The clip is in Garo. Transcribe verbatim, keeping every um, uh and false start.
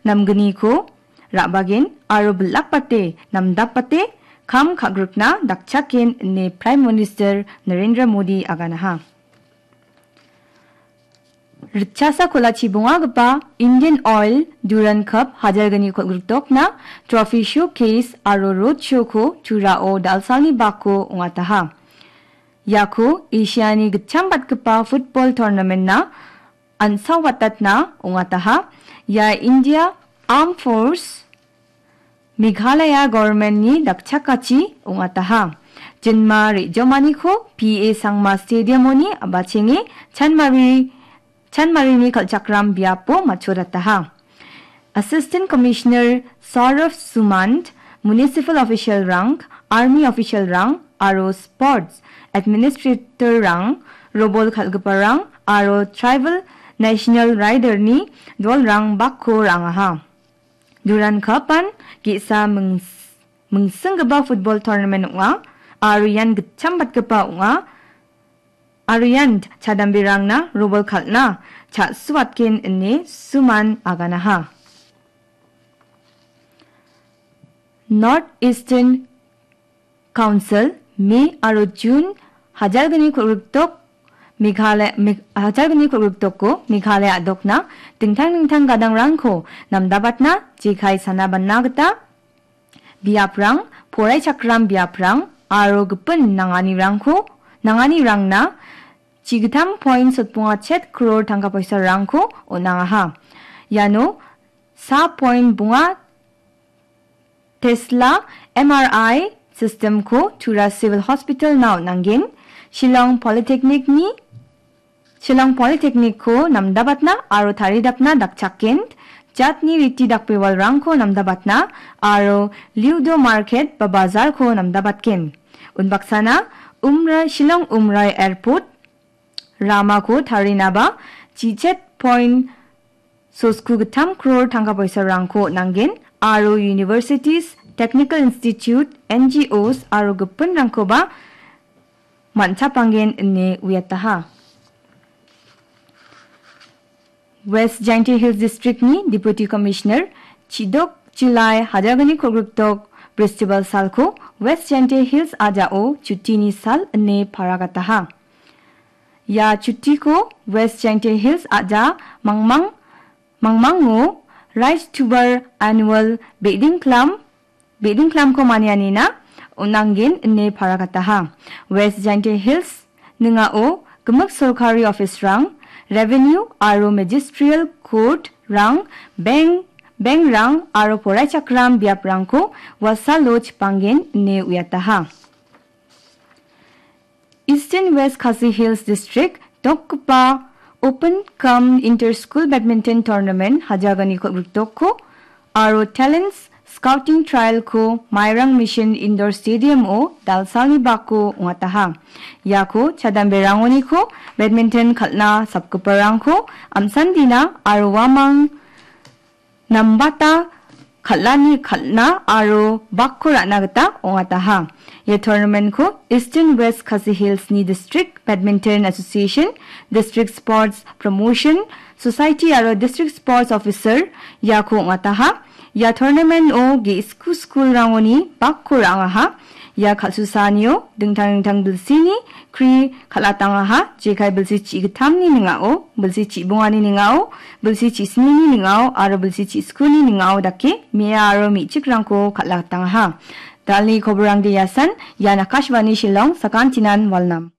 namgniko ra·bagen aro bilakbate, namdapbate kam ka·grikna dakchaken ine Prime Minister Narendra Modi aganaha. Ritchasa kolachi bongagipa Indian Oil Durand Cup hajalgni kol·griktokna trophy showcase aro road show-ko Turao dalsalni bako ong·ataha. Iako Asiani gitchambatgipa football tournament-na an·saobatatna ong·ataha. Ia India Armed Force Meghalaya government-ni dakchakachi ong·ataha. Jinma re·jomaniko P A Sangma Stadium-oni a·bachenge chanmari, chanmarini kal·chakram biapo matchotataha. Assistant Commissioner Saurav Sumant, Municipal Official-rang, Army Official-rang aro Sports Administrator-rang, robol kal·giparang aro Tribal National Rider-ni dolrang bakko ra·angaha. Durand Cup-an ge·sa mings-, mingsinggipa football tournament ong·a, aro ian gitchambatgipa ong·a, aro ian chadamberangna robol kal·na cha·suatgen ine Suman aganaha. North Eastern Council, May aro June hajalgni kol·griktok Meghalaya, Meg-, hajalgni kol·griktoko Meghalaya a·dokna dingtang dingtang gadangrangko namdabatna jekai sana bana gita biaprang, poraichakram biaprang aro gipin nanganirangko, nanganirangna chigittam point sotbonga chet crore tangka poisarangko on·angaha. Iano sa point bonga Tesla M R I system-ko Tura Civil Hospital-na on·angen, Shillong Polytechnic-ni, Shillong Polytechnic-ko namdabatna aro taridapna dakchaken, jatni riti dakbewalrangko namdabatna aro Liudo Market ba bazar-ko namdabatgen. Unbaksana Umra-, Shillong Umrai Airport ramako tarinaba chichet point sosku gittam crore tangka poisarangko on·angen aro universities, technical institute, N G Os aro gipinrangkoba man·chapanggen ine uiataha. West Jaintia Hills District-ni Deputy Commissioner Chidok Chilai hajalgni kol·griktok Bristibal salko West Jaintia Hills a·jao chutini sal ine paragataha. Ia chutiko West Jaintia Hills a·ja mangmang, mangmango Rice Tuber Annual Beding Klam, Beding Klamko manianina on·angen ine paragataha. West Jaintia Hills ning·ao gimik sorkari office-rang, revenue aro magisterial court-rang, bank, bank-rang aro poraichakram biaprangko wasalo chipangen ine uiataha. Eastern West Khasi Hills District dokgipa Open cum Inter School Badminton Tournament hajalgni kol·griktokko aro Talents Scouting Trial-ko Mairang Mission Indoor Stadium-o dalsalni bako ong·ataha. Iako chadamberangoniko badminton kal·na sapgiparangko amsandina aro uamang nambata kal·ani kal·na aro bakko ra·na gita ong·ataha. Ia tournament-ko Eastern West Khasi Hills-ni District Badminton Association, District Sports Promotion Society aro District Sports Officer iako ong·ataha. Ia tournament-o ge·sku school-rangoni bakko ra·angaha. Ia kal·susaanio dingtang dingtang bilsini kri kal·atangaha, jekai bilsi chi·gittamni ning·ao, bilsi chi·bongani ning·ao, bilsi chi·snini ning·ao aro bilsi chi·skuni ning·ao dake me·a aro me·chikrangko kal·atangaha. Dalni koborangde iasan, ian Akashvani Shillong, sakantinan walnam.